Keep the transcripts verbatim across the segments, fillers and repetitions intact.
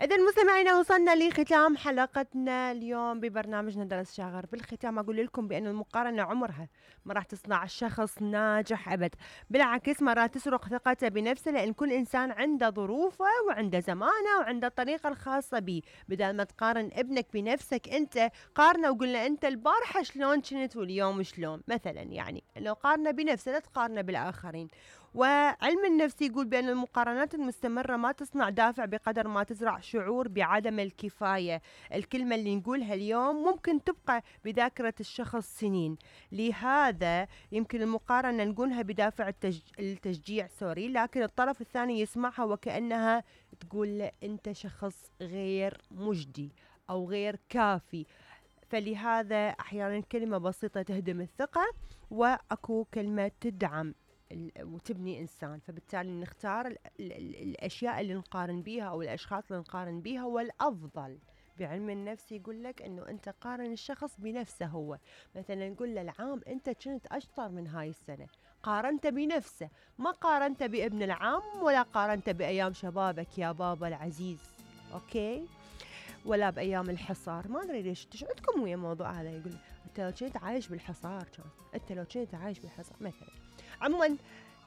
إذا مستمعينا وصلنا لختام حلقتنا اليوم ببرنامجنا درس شاغر. بالختام أقول لكم بأن المقارنة عمرها ما راح تصنع الشخص ناجح أبد، بالعكس ما راح تسرق ثقته بنفسه، لأن كل إنسان عنده ظروفه وعنده زمانه وعنده الطريقة الخاصة به. بدل ما تقارن ابنك بنفسك أنت، قارنه وقلنا أنت البارحة شلون كنت واليوم شلون، مثلا يعني لو قارنه بنفسه لا تقارنه بالآخرين. وعلم النفس يقول بأن المقارنات المستمرة ما تصنع دافع بقدر ما تزرع شعور بعدم الكفاية. الكلمة اللي نقولها اليوم ممكن تبقى بذاكرة الشخص سنين، لهذا يمكن المقارنة نقولها بدافع التج... التشجيع سوري، لكن الطرف الثاني يسمعها وكأنها تقول له أنت شخص غير مجدي أو غير كافي. فلهذا أحيانا كلمة بسيطة تهدم الثقة، وأكو كلمة تدعم وتبني إنسان. فبالتالي نختار ال ال ال الأشياء اللي نقارن بيها أو الأشخاص اللي نقارن بيها. والأفضل بعلم النفس يقول لك أنه أنت قارن الشخص بنفسه هو. مثلا نقول له العام أنت كنت أشطر من هاي السنة، قارنت بنفسه، ما قارنت بابن العام ولا قارنت بأيام شبابك يا بابا العزيز، أوكي؟ ولا بأيام الحصار. ما أدري ليش إيش عندكم ويا موضوع هذا. يقول أنت لو كنت عايش بالحصار كان، أنت لو كنت عايش بالحصار مثلا. عموما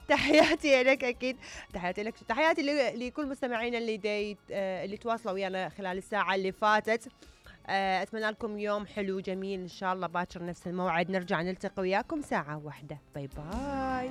تحياتي لك، أكيد تحياتي لك، تحياتي لكل مستمعينا اللي دي اللي تواصلوا ويانا خلال الساعة اللي فاتت. أتمنى لكم يوم حلو جميل إن شاء الله. باكر نفس الموعد نرجع نلتقي وياكم ساعة واحدة. باي باي.